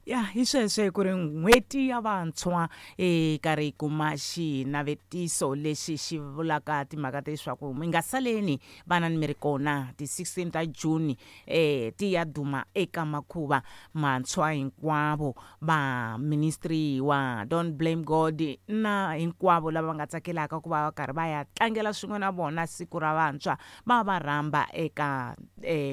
Ya hi sweswo ku ri n'hweti ya vantshwa hi karhi hi kuma xinavetiso lexi xi vulaka timhaka ta leswaku mi nga saleni vana ni mi ri kona ti 16 ta June ti ya duma eka makhuva mantshwa hinkwavo va ministry wa Don't Blame God na hinkwavo lava va nga tsakelaka ku va va karhi va ya tlangela swin'we na vona siku ra vantshwa va va rhamba eka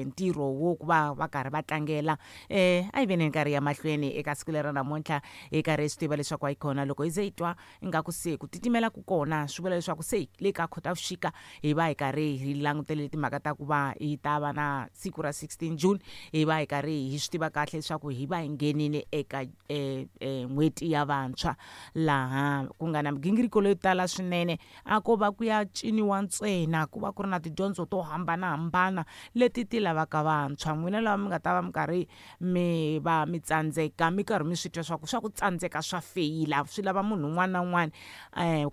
ntirho wo ku va va karhi va tlangela. A hi veni nkarhi ya mahlweni eka siku lera namuntlha hi karhi hi swi tiva leswaku a yi kona loko hi ze hi twa ingaku se ku titimela ku kona swi vula leswaku se le ka Khotavuxika hi va hi karhi hi langutele timhaka ta ku va hi ta va na siku ra 16 June hi va hi karhi hi swi tiva kahle leswaku hi va hi nghenile eka n'hweti ya vantshwa laha ku nga na migingiriko leyo tala swinene. A ko va ku ya ciniwa ntsena ku va ku ri na tidyondzo to hambanahambana leti ti lavaka vantshwa. N'wina lava mi nga ta va mi karhi mi va mi tsandzeka mi karhi mi swi twa swa ku swa ku tsandzeka swa feyila swi lava munhu un'wana na un'wana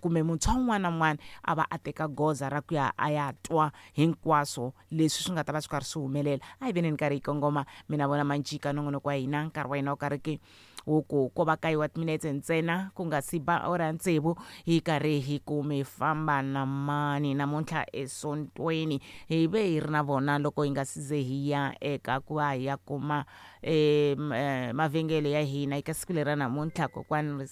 kumbe muntshwa un'wana na un'wana a va a teka goza ra ku ya a ya twa hinkwaswo leswi swi nga ta va swi karhi swi humelela. A hi veneni karhi hi kongoma mina vona Manjika nongonoko wa hina nkarhi wa hina wu karhi ke wo ku ko va kaye wa timinetse ntsena ku nga si ba awara ya tsevu hi karhi hi ku mi famba na mani namuntlha esontweni hi ve hi ri na vona loko hi nga si ze hi ya eka ku va hi ya kuma mavhengele ya hina eka siku leri ra namuntlha kokwani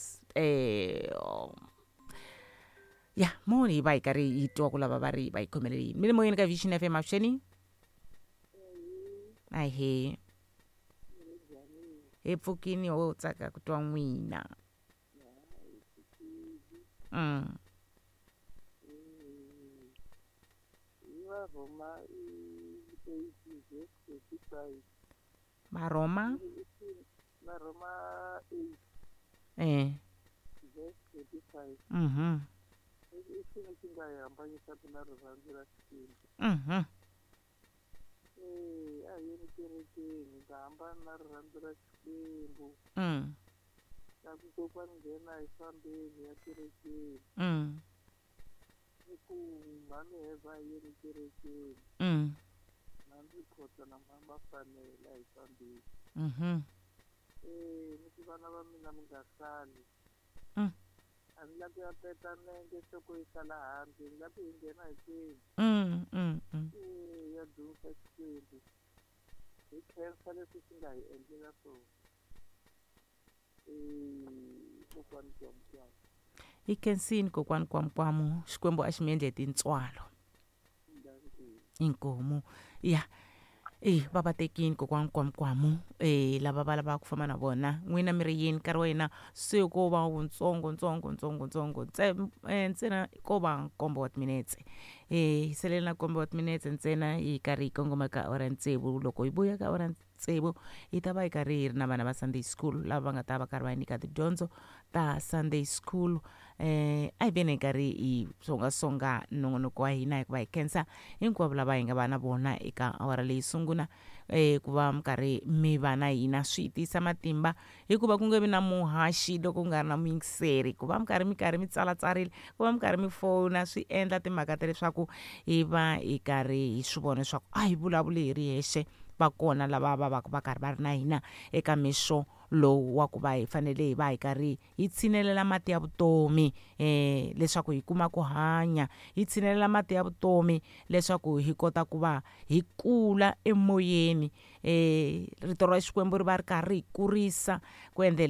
ya mo hi va hi karhi hi twa ku lava va ri va yi khomelele yini mi le moyeni ka Vision FM avuxeni ahee hi pfukini ho tsaka ku twa n'wina. Varhoma 8 verse 35. Varhoma Varhoma 8 verse 35. I xini xi nga hi hambanyisaka na rirhandzu ra Xikwembu? A hi yeni kerekeni hi nga hambani na rirhandzu ra Xikwembu. Na ku kokwani nghena hi fambeni ya kerekeni. Ni ku mhani Heva a hi yeni kerekeni. Mhani Rikhotso na mhani Mafanele a hi fambeni. Ni ku vana va mina mi nga sali. A ni lavi ku ya peta nenge nhloko yi sala handle ni lava ku hi nghena hinkwenu. Ya dzunisa Xikwembu hi khensa leswi xi nga hi endlela swona. Kokwani Kwamukwamu. Hi khensini kokwani Kwamukwamu Xikwembu a xi mi endle hi tintswalo. Inkomu ya va va tekini kokwani Kwamukwamu lava va lavaka ku famba na vona n'wina mi ri yini nkarhi wa hina se ko va wutsongo ntsongo ntsongo ntsongo ntsena ko va nkombo wa timinetse hi salele na nkombo wa timinetse ntsena hi karhi hi kongoma ka awara ya tsevu loko hi vuya ka awara ya tsevu hi ta va hi karhi hi ri na vana va Sunday school lava va nga ta va karhi va nyika tidyondzo ta Sunday school. A hi veni hi karhi hi songasonga nongonoko wa hina hikuva hi khensa hinkwavo lava hi nga va na vona eka awara leyi sungula ku va mi karhi mi va na hina swi tisa matimba hikuva ku nge vi na muhaxi loko ku nga ri na muyingiseri ku va mi karhi mi karhi mi tsalatsarile ku va mi karhi mi fona swi endla timhaka ta leswaku hi va hi karhi hi swi vona leswaku a hi vulavuli hi ri hexe va kona lava va va va karhi va ri na hina eka mixo lowu wa ku va hi fanele hi va hi karhi hi tshinelela mati ya vutomi leswaku hi kuma ku hanya hi tshinelela mati ya vutomi leswaku hi kota ku va hi kula emoyeni rito ra Xikwembu ri va ri karhi hi kurisa ku endlela.